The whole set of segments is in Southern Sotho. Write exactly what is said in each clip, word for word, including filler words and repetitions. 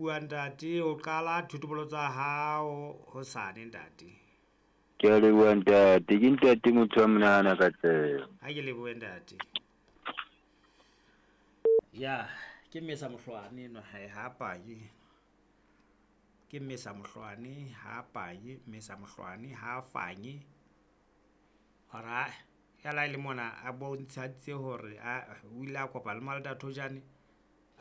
Bua ntate, o qala thotobolo tsa hao hosane ntate. Ke a leboha ntate, ke ntate motho wa monahana Katleho. Ha ke lebohe ntate. Ya, ke mmesa mohlwane enwa hae ha panye. Ke mmesa mohlwane ha panye, mmesa mohlwane ha fanye. Hore ya la e le mona a bontshitse hore a o ile a kopa le Malda Thojane,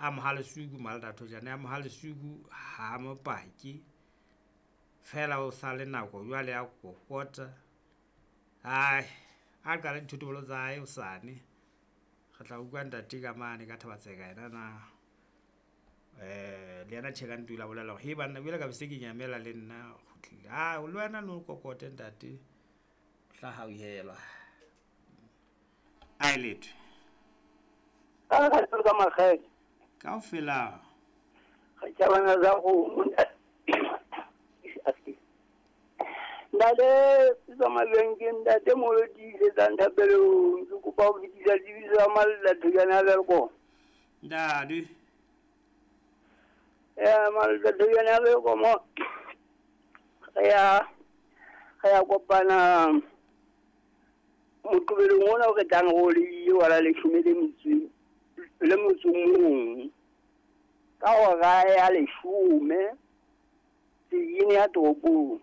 a mo ha lesuku Malda Thojane, a mo ha lesuku ha mo pake. Feela o sa le nako jwale ya kokota. Ae, a qale dithotobolo tsa hae hosane. Re tla utlwa ntate ka mane ka Thaba-Tseka yena na. Eh, le yena tjhe ka nnete o ile a bolela hore he banna boele ka be se ke nyamela le nna kgutlile. Ah, le wena no kokote ntate. Tla hauhelwa. Ae letho. Ka ka ka makgele. Kaofela. Re tjabana za go. Ntate tswa mabenke ntate molo tiisetsang thapelong ke kopa ho fetisa tsebiso ya Malda Thojane a Welkom. Ntate. Eh Malda Thojane a Welkom. Re ya re ya kopana moqebelong ona o re tlang ho le wa la leshome le metso le motso mong ka hora ya leshome tseleng ya toropong.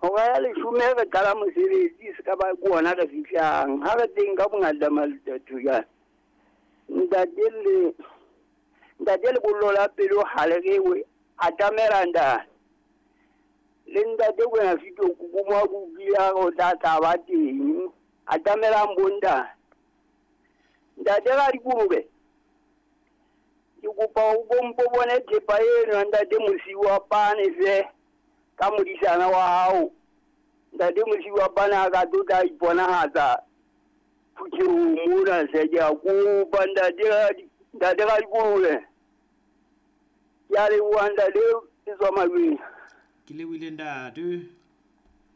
Hora ya leshome re qala mosebetsi se ka ba ke ona re fihlang ha re teng ka bongata Malda Thojane. Ntate le ntate lebollo la pelo ha le rewe atamela ntate. Le ntate kwena fito kukumo kukia o tla tla ba teng atamelang bonda. Ntate ga dikolobe ke kopa o bompo bone thepa eno ntate mosiwa pane se ka modisana wa hao. Ntate mosiwa pane a ka tlo tla iponahatsa phuthehong mona se ke a kopa ntate ntate ga dikolobe. Ke a leboha ntate e tswa mabeng. Ke lebohile ntate.